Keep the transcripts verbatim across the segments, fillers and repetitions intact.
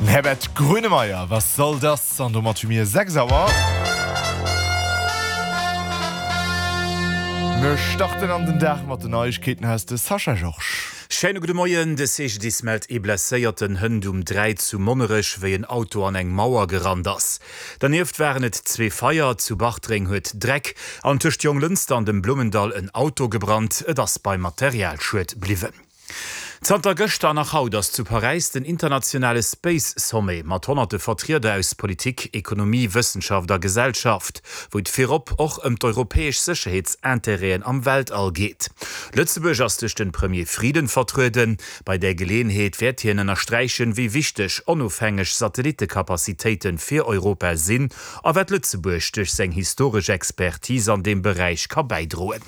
Den Herbert Grönemeyer, Was soll das? An domat hu mir sechs Auer. Mir starten an den Dag mat den Neiegkeeten aus de Sascha Georges. Schéine gudde Moien, De C G D I S mellt ee Blesséierten hënt um dräi zu Monnerech, wéi en Auto an eng Mauer gerannt ass. Dernieft waren et zwee Feier, zu Bartreng huet Dreck an tëscht Jonglënster an dem Blummendall en Auto gebrannt. Et ass beim Materialschued bliwwen. Zanter gëschter an nach haut ass zu Paräis den internationale Space Sommet mat honnerte Vertrieder aus Politik, Ekonomie, Wëssenschaft a Gesellschaft, wou et virop och ëm d'europäesch Sécherheetsintérêten am Weltall geet. Lëtzebuerg ass duerch de Premier Frieden vertrueden. Bei där Geleeënheet wäert hien ënnersträichen, wéi wichteg onofhängeg Satellitekapazitéite fir Europa sinn a wat Lëtzebuerg duerch seng historesch Expertise an deem Beräich ka bäidroen.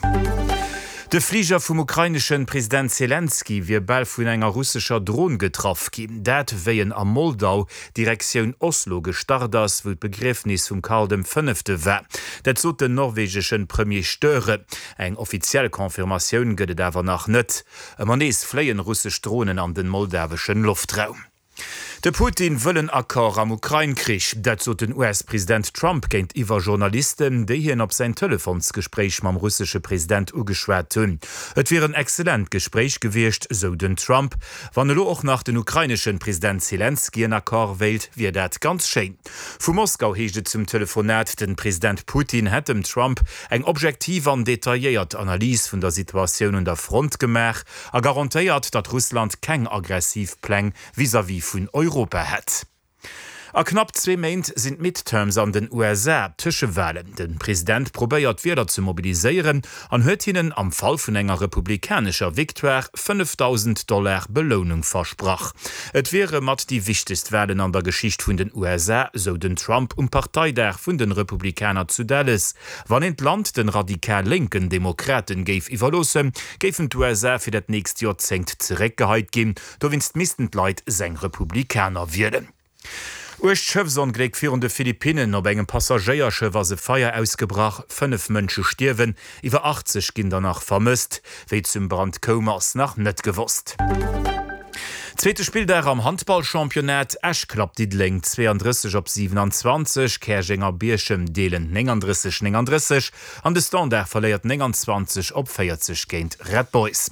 De Fliger vum ukraineschen President Selenskyj wier bal vun enger russescher Dron getraff ginn. Dat wéi en a Moldau Direktioun Oslo gestart ass, wou d'Begriefnis vum Karl dem Fënnefte war. Dat sot den norwegeschen Premier Støre. Eng offiziell Confirmatioun gëtt et awer nach net. Ëmmer nees fléien russesch Dronen an den moldaweschen Loftraum. De Putin wëll en Accord am Ukrain-Krich. Dat sot den U S-President Trump géintiwwer Journalisten, déi hien op säin Telefonsgespréich mam russesche President ugeschwat hunn. Et wier en exzellent Gespréich gewiescht, sou den Trump. Wann elo och nach den ukraineschen President Selenskyj en Accord wéilt, wier dat ganz schéin. Vu Moskau heescht et zum Telefonat, den President Putin hätt dem Trump eng objektiv an detailléiert Analys vun der Situatioun un der Front gemaach a garantéiert, datt Russland keng aggressiv Pläng vis-à-vis vun Europa hätt. A knapp zwee Méint sinn d'Midterms an den U S A, Tëschewalen. De President probéiert d'Wieler ze mobiliséieren an huet hinnen am Fall vun enger republikanescher Victoire fënnefdausend Dollar Belounung versprach. Et wiere mat déi wichtegst Walen an der Geschicht vun den U S A, sou den Trump um Parteidag vun den Republikaner zu Dallas. Wann een d'Land den radikal lénken Demokraten géif iwwerloossen, géifen d'U S A fir dat nächst Joerzéngt zeréckgeheit ginn. Dowéinst missten d'Leit seng Republikaner wielen. Uergt Schëffsongléck virun de Philippinnen, op engem Passagéierschëff ass e Feier ausgebrach, fënnef Mënsche stierwen, iwwer achtzeg ginn der nach vermësst. Wéi et zum Brand koum ass nach net gewosst. Zweete Spilldag am Handballchampionnat, Esch klappt Diddeleng zweeandrësseg op siwenanzwanzeg, Käerjeng a Bierchem deelen néngandrësseg, néngandrësseg an de Standard verléiert nénganzwanzeg op véierzeg géint Red Boys.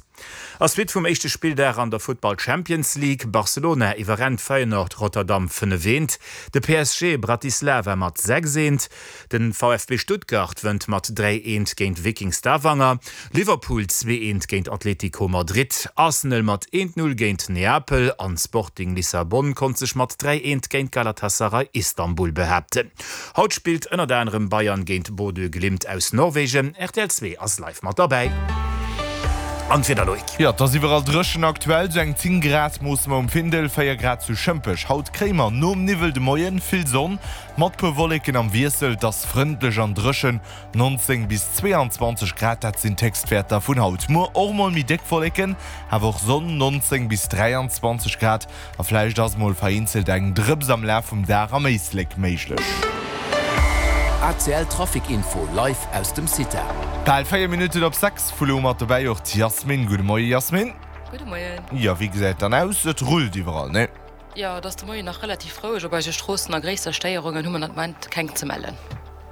A Suite vum éischte Spilldag an der Futtball Champions League, Barcelona iwwerrennt Feyenoord Rotterdam fënnef eent, de P S G Bratislava mat sechs eent, de V F B Stuttgart wënnt mat dräi eent géint Viking Stavanger, Liverpool zwee eent géint Atlético Madrid, Arsenal mat eent null géint Neapel an Sporting Lissabon konnt sech mat dräi eent géint Galatasaray Istanbul behaapten. Haut spillt ënnert anerem Bayern géint Bodø Glimt aus Norwegen. R T L zwee ass live mat derbäi. An d'Wieder, Loïc. Jo, et ass iwwerall dréchen aktuell, sou eng zéng Grad moosse mer um Findel, véier Grad zu Schëmpech. Haut kréie mer nom Niwwel de Moien vill Sonn mat puer Wolleken am Wiessel. Et ass frëndlech an dréchen, nonzéng bis zweeanzwanzeg Grad, dat sinn d'Héchstwäerter vun haut. Muer och mol méi déck Wolleken, awer och Sonn, nonzéng bis dräianzwanzeg Grad a vläicht ass mol vereenzelt eng Drëps am Laf vum Dag am Éislek méiglech. A C L Trafic Info live aus dem CITA. Bal véier Minutten op sechs, vu lo mat dobäi och d'Yasmin. Gudde Moie Yasmin. Gudde Moien. Jo, wéi gesäit dann aus? Et rullt iwwerall, ne? Jo, et ass de Moien nach relativ roueg op eise Stroossen a gréisser Stéierungen hu mer den Moment keng ze mellen.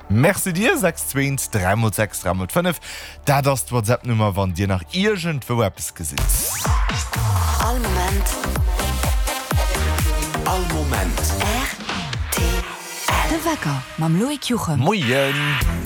Merci dir. sechs zwee eent dräi mol sechs dräi mol fënnef, dat ass d'WhatsApp-Nummer, wann dir nach iergendwou eppes gesitt. All Moment. All Moment. R T L. De Wecker mam Loïc Juchem. Moien.